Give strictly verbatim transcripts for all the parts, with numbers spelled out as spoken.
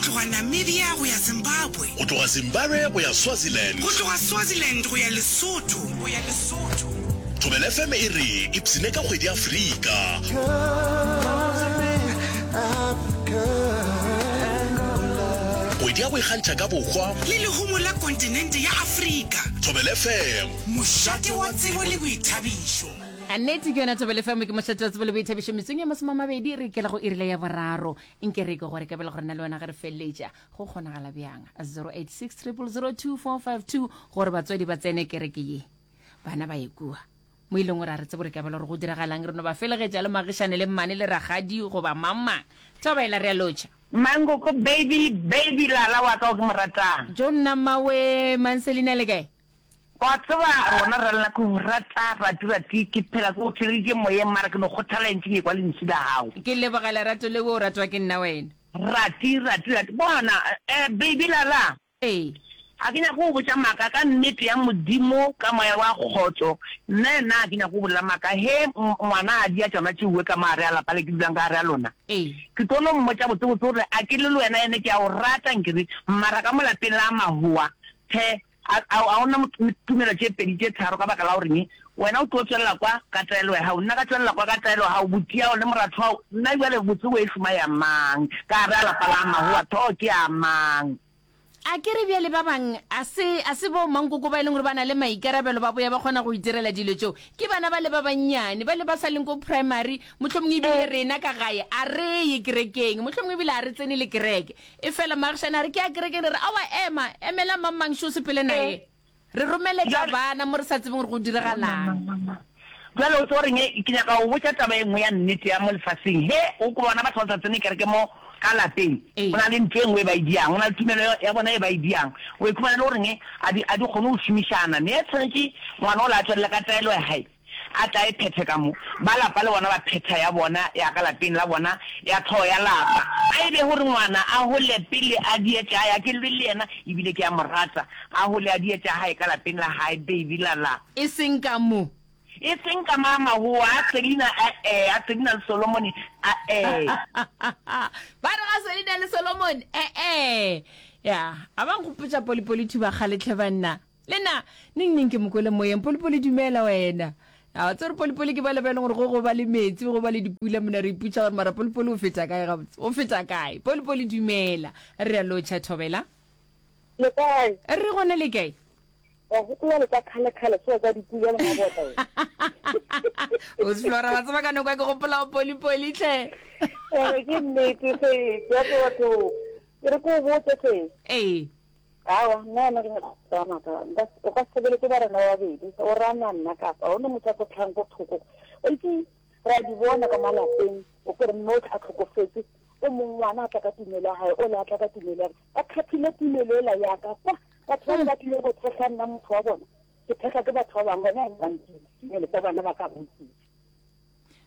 tloga Namibia go ya Zimbabwe. Go tloga Zimbabwe go ya Swaziland. Go tloga Swaziland go ya Lesotho. Go ya Lesotho. Thobela F M e re ipshine ka kgwedi ya Afrika. Kgwedi ya go ikgantšha ka bohwa. Le lehumo la kontinente ya Afrika. Thobela F M. Mošate wa tsebo le boithabišo. A nnete ke yona Thobela F M, ke mošate wa tsebo le boithabišo. Metsong ye masome a mabedi re ikela go irile ya boraro. Nke re ke gore ka bela gore nna le wena ge re feleletša go kgonagala bjang. zero eight six triple zero two four five two gore batswadi ba tsene kereke ye, bana ba ye kua mo e leng gore a re tsebe gore ka bela gore go diragalang, re no ba felegetša le magišane le mmane le ragadi goba mang mang. Thobela, re a lotšha. Mankoko baby baby lala wa ka o ke mo ratang. Jo nna mmawe Manselina le kae? Wa tseba rona re lla ke go rata rati rati ke phela ke go theleditše moyeng mara ke no kgothala ntše ke ekwa lentšu la gago. Ke leboga lerato leo o ratwa ke nna wena. Rati rati rati bona eh baby lala. Ee. Ga ke nyake go botša maaka ka nnete ya Modimo ka moya wa kgotso nna yena ga ke nyake go bolela maaka he ngwana a dia tšona tšeuwe ka mo gare a lapa le ke dulang ka gare a lona Ee. ke tlo no mmotša botse botse gore a ke le le wena ene ke a o rata nkere mara ka mo lapeng la mahowa the A, a, a go na tumelo tše pedi tše tharo ka baka la goreng wena o tlo tšwelela kwa ka taelo ya gago, nna ka tšwelela kwa ka taelo ya gago, butiago le moratho wa gago, nna bjale botse bo e šoma ya mang? Ka gare a lapa la magowa tho ke ya mang? A ke re bjale ba bang a se, a se bo mankoko ba e leng gore ba na le maikarabelo ba boya ba kgona go itirela dilo tšeo, ke bana ba le ba bannyane, ba le ba sa leng ko primary, mohlomongwe ebile rena ka gae a re ye kerekeng, mohlomongwe ebile a re tsene le kereke. Efela maagišane a re, Ke ya kerekeng. Re re, Aowa, ema, emela mang-mang šo sepele naye. Re romeletša bana mo re sa tsebeng gore go diragalang. Bjale o tseba goreng? Ke nyaka go botša taba e nngwe ya nnete ya mo lefaseng. Ge o ko bona batho ba sa tsene kereke mo ka lapeng, go na le ntho e nngwe e ba e diang, go na le tumelo ya bona e ba e diang. O ikhumana e le goreng a di, a di kgone go šomišana. Ne tshwanetše ngwana ola a tšwelele ka taelo ya gae. A tla e phethe ka mo. Ba lapa le bona ba phetha ya bona ya ka lapeng la bona ya tlhogo ya lapa. A e be gore ngwana a hole pele a die tša hae, a ke lwe le yena ebile ke a mo rata. A hole a die tša hae ka lapeng la hae, baby la la. E seng ka mo. E seng ka ma mahoa a Selina a-e, a Selina le Solomone a-e. Ba re ga Selina le Solomone e-e. Ya, a ba nkgopotša Polipoli Thubakgale tlhe banna. Le nna, neng neng ke mo kwele moyeng. Polipoli dumela wena. A wa tseba gore Polipoli ke bale ba e leng gore go go ba le metsi, go ba le dipula mona re ipotša gore mara Polipoli o feta kae gabotse. O feta kae? Polipoli dumela. Re a lotšha Thobela. Le kae? Re gona le kae? Wa gopola le tsa kgale kgale tsoa tsa dipula le mabota wena. O Flora wa tseba ka nako ya ke gopola go Polipoli tlhe. Ee ke nnete se, ke a tseba batho. Ke re ke o botse se. Ee. Aowa, nna yena ke nyaka go tsaya maaka. Nka, o ka se sebeletse ba rena ba babedi, o rana nna kapa ga gona motho a tlo tlhang ko thoko. Wa itse, re a di bona ka malapeng, o kere mme o tla tlhokofetse, o mong ngwana a tla ka tumelo ya gae, o le a tla ka tumelo ya ka. Ba kgaphile tumelo ela ya ka kwa. Batho ba ba tlile go thekga nna motho wa bona, ke thekga ke batho ba bangwe, gona ba ntile, tumelo tsa bana ba ka bontsi.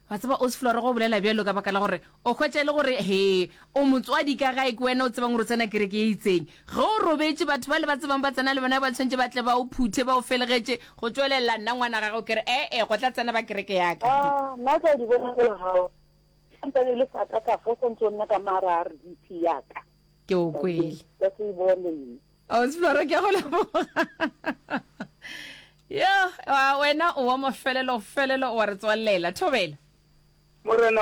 Wa tseba Osflora go bolela bjalo ka baka la gore o hwetša e le gore he o motswadi ka gae ke wena o tsebang gore o tsena kereke ye itseng. Ge o robetše batho bale ba tsebang ba tsena le bona ba tshwanetše ba tle ba o phuthe ba o felegetše go tšwelela nna ngwana gago ke re ee go tla tsena ba kereke ya ka. Ah, nna ke a di bona tsela gago. Santse e le sa ka ka fo santse o nna ka mara R D P ya ka. Ke o kwele. Ka se e bone nna. Osflora ke a go leboga. Yo, a wena o wa mafelelo felelo wa re tswalela. Thobela. Morena.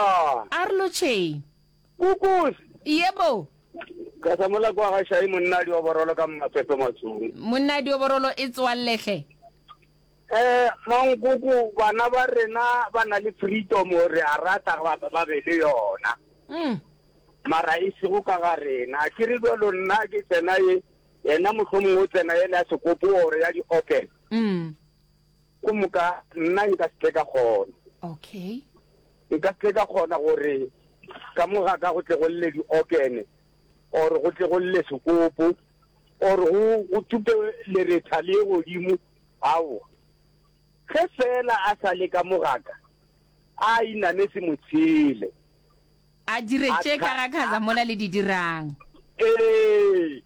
A re lotšheng. Kukus. Yebo. Ka sa mola kwa ga Shai monna dioborolo ka Mmapepe Matsong. Monna dioborolo e tswalle hle. Eh mankoko bana ba rena ba na le freedom re a rata ba ba be le yona. Mm. Mara e sego ka ga rena. Ke re bjalo nna ke tsena ye yena mohlomongwe o tsena yela ya sekopo or ya di-organ. Mm. Ko moka nna nka se tle ka kgona. Okay. Nka se tle ka kgona gore ka mo ga ka go tle go lle di-organ or go tle go lle sekopo or go go tupe leretha le ye godimo. Aowa. Ge fela a sa le ka mo ga ka, a iname se mo tshele. A dire tše ka ga Khaza mola le di dirang. Ee,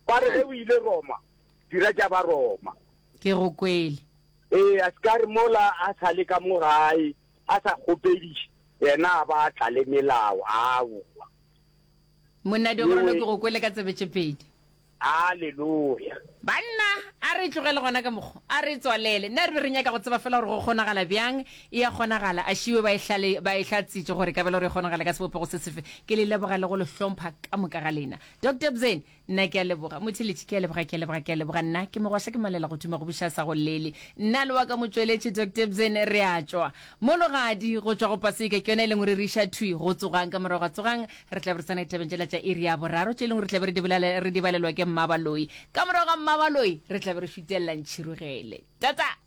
ba re ge o ile Roma, dira tša ba Roma. Ke go kwele. Ee, a se ka re mola a sa le ka mo gae, a sa kgopediše, yena a ba a tla le melao. Aowa. Monna Diogorolo, ke go kwele ka tsebe tše pedi. Aleluya. Banna, a re tlogele gona ka mokgo, a re tswalele. Nna re be re nyaka go tseba fela gore go kgonagala bjang. E a kgonagala. A šiwe ba e hlale, ba e hlatsitše gore e ka ba le gore e kgonagala ka sebopego se sefe. Ke le leboga le go le hlompha ka moka ga lena. Doctor Bzeni, nna ke a leboga. Motheeletši, ke a leboga, ke a leboga, ke a leboga. Nna ke mogwaša ke malela go thuma go buša sa go llele. Nna le wa ka motšweletši Doctor Bzeni re a tšwa. Mologadi go tšwa go Paseka ke yona e leng gore re iša thwi go Tsogang. Ka morago ga Tsogang re tla be re tsena ditabeng tšela tša iri ya boraro tše e leng gore re tla be re di bolale, re di balelwa ke Mmabaloi. Ka morago ga Mmabaloi re tla be re šutelela Ntšhirogele. Tata!